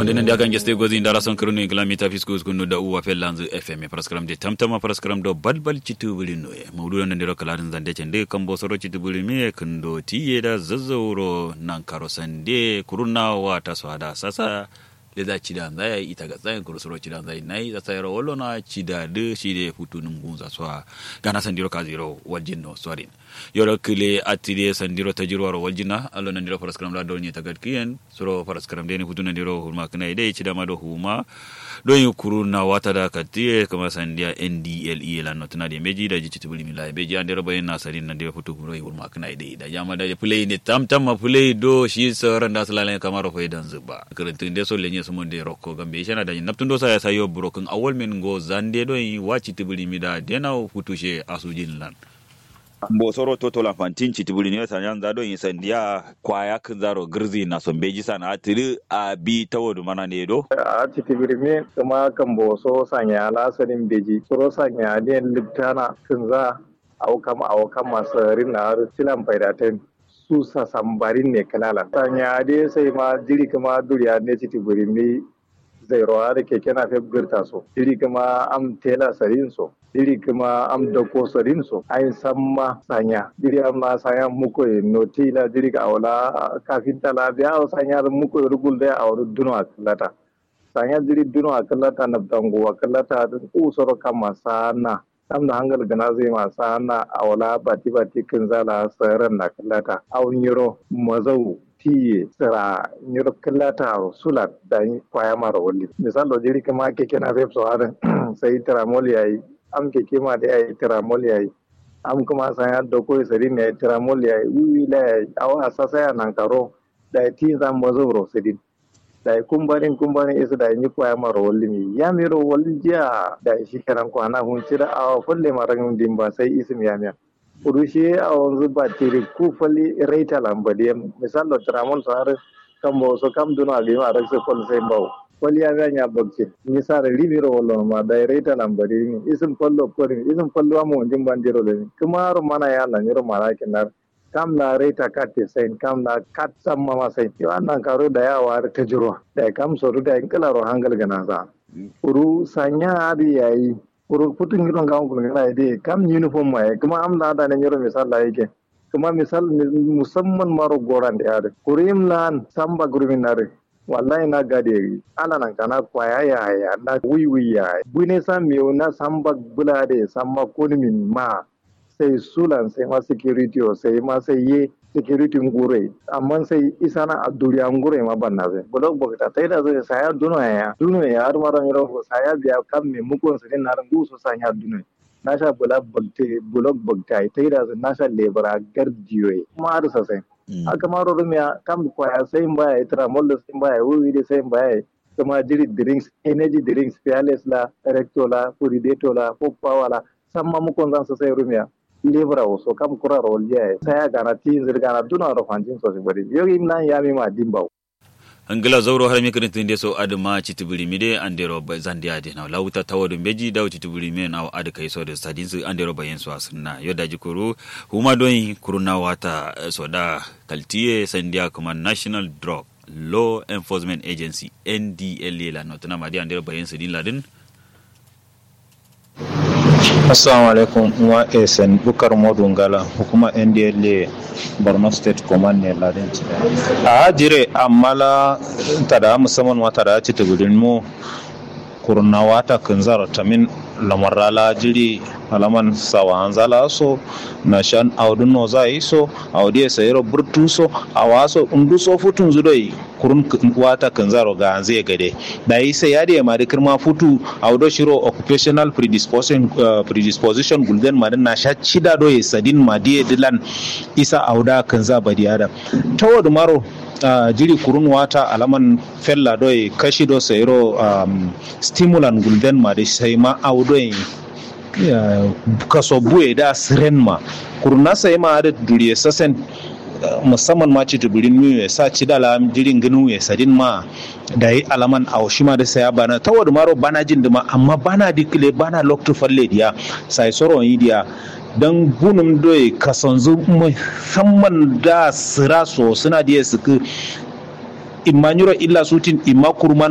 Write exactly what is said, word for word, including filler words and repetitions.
Nde nandi akan geste gozi ndara son kǝrǝnu ingila mita fisku uskunnu da uwa fellanzǝ fm faraskaram de tamtama faraskaram do balbal citubǝri nuye maudu do nandiro kǝladǝn zande cende kambo soro citubǝri miye kǝndo tiye da zazzauro nankaro sande kuruna wata so ada sasa. Leza cida nzaya ita ga tsayin kuru soro cida nzayi nayi sasa yero wallona cida dǝ shide futu nungunza so a gana sandiro kaziro waljinno sorin. Yoro kǝle attide sandiro tajirwaro waljinna allo nandiro faraskaram la dornye tagadkiyen. Suro faraskaram deni futu nandiro hurma kǝna ye dai cida ma do huma. Doi kuru na wata da kattiye kǝma sandiya ndle lan notǝna de mbeji daji citubǝri mila mbeji andero bayin na sarin nandiro futu doi hurma kǝna ye dai daji amma daji fǝlai ne tamtam ma fǝlai do shi saran da sǝlalen kamaro faidan zǝba kǝrǝntǝ nde so lenye sǝmon de rokko gambe ishana daji naptǝn do saya sayo burokǝn awal men ngo zande doi wa citubǝri mida dena futu she asujin lan. Mbo soro toto lanfantin citibiri ne sanya nza do insandiya kwaya kǝnzaro gǝrzi na so mbeji sana tǝdǝ abi tawodu mana ne do. A citibiri me kǝma kambo so sanya la sadin mbeji soro sanya den liptana kǝnza. Awo kam awo kam ma sarin na har tilan faida ten su sasambarin ne kǝlala sanya de sai ma jiri kǝma duriya ne citibiri me. Zairo adǝ keke nafef gǝrta so jiri kǝma am tela sadin so jiri kǝma am dako sadin so ayin samma sanya jiri amma sanya mukoye noti la jiri awo la kafinta la biya awo sanya dǝ mukoye dǝ gulde awo dǝ duno akǝllata. Sanya jiri duno akǝllata nabtangu akǝllata dǝ usoro kamma sanna. Kam da hangal gǝna zai ma sanna awo la bati bati kǝnza la saran na kǝllata awo nyiro mazau tiye sǝra nyiro kǝllata aro sulan. Dayi kwaya maro walli misal do jiri kǝma keke nafef so adǝn sai tramol yayi am keke ma dǝ yayi tramol yayi am kǝma sanya dako ye sadin yayi tramol yayi wiwi la yayi awo asasaya nankaro. Dayi tinza mazau ro sadin. Dayi kumbarin kumbarin isǝ dayi nyi kwaya maro wallimi yamiro waljiya dayi shikenan kwana funcida awo falle ma rangǝm dimba sai isǝm yamiya. Kuru shiye awonzǝ batiri ku fal raita lan badiyen misal do tramol so har kambo so kam duno agǝyim araksǝ fal sai mbawo. Fal yamiya nya bakcin misal rimiro wallonoma dayi raita lan badiyen isǝm fal lokkorin isǝm fal wa monjin bandiro lemin kǝmaro mana ya lan nyiro mana kinnar. Kam la raita katte sain kam la kat samma ma sain yo annan karo dayi awo har tajirwa dayi kam sodu dayi kǝlaro hangal gǝnansa. Kuru sanya adǝ yayi kuru futu nyiro ngawo gulgana ye de kam uniform ma ye kǝma am la dane nyiro misal la yike. Kǝma misal musamman maro gorande adǝ kuru yim lan samba gurmin adǝ. Wallahi na gade ye ala nankana kwaya yaya na wiwi yaya bune sa mewu na samba bula adǝ ye samma konumin ma. Sai sulan sai ma security o sai ma sai ye security nguroi. Amma sai isana a duriya nguroi ma banna sai bulok bakta taida sai saya duno ya duno ya har maro nyiro saya biya kam me mukon sai na ngu so sanya duno. Nasha bula bakte bulok bakte ai taida sai nasha lebra gardiyo ye ma har sasai. Aka maro rumiya kam kwaya sai mbaya itra mollo sai mbaya wiwi de sai mbaya. Kǝma jiri drinks energy drinks fearless la recto la purideto la pop power la samma mukonzan sosai rumiya. Lebura wo so kam kuraro waljiya ye saya gana tinzǝ dǝ gana duno aro fanjin so sibari yo imnan yami ma dimbawo. Ngla zauro har mi kǝrǝntǝ nde so adǝ ma citibiri mi de andero zande adǝ na lawuta tawo dǝ mbeji dawo citibiri mi na adǝ kai so dǝ sadinzǝ andero bayin so asǝnna yo daji kuru. Huma doyin kuru na wata soda kaltiye sandiya kǝma national drug law enforcement agency ndla la notǝna ma dǝ andero bayin sǝdin ladǝn. Assalamu alaikum. Wa esen bukar modu ngala hukuma ndla borno state command ne ladin. A jire amma la tada musamman ma tada ci tubudin mu. Kurna wata kǝnzaro tamin lamarra la jiri alaman sawa anzala so. Nashan audun noza iso audiye sayiro burtu so. Awaso undu so futun zudoi. Kurun wata kǝnzaro ganze gade. Dayi sai adǝ ye ma dǝ kǝrma futu. Awo do shiro occupational predisposition gulden ma dǝ nasha cida do ye sadin ma dǝ ye dǝ lan. Isa awo da kǝnza badi adam. Tawo dǝ maro. Jiri kurun wata alaman fella do ye kashi do sayiro. Stimulan gulden ma dǝ sai ma awo do ye. Kaso buwe da siren ma. Kurun na sai ma adǝ duriye sasen. Musamman ma citǝ bǝrin miwe sa cida la jiri ngǝnuwe sadin ma. Dayi alaman awo shima dǝ saya bana tawo dǝ maro bana jin dǝ ma amma bana dǝ kǝle bana loktu falle diya. Sai soro yi diya. Dan bunum doye kasonzu musamman da sira so suna diye sǝkǝ. Imma nyiro illa sutin imma kurman.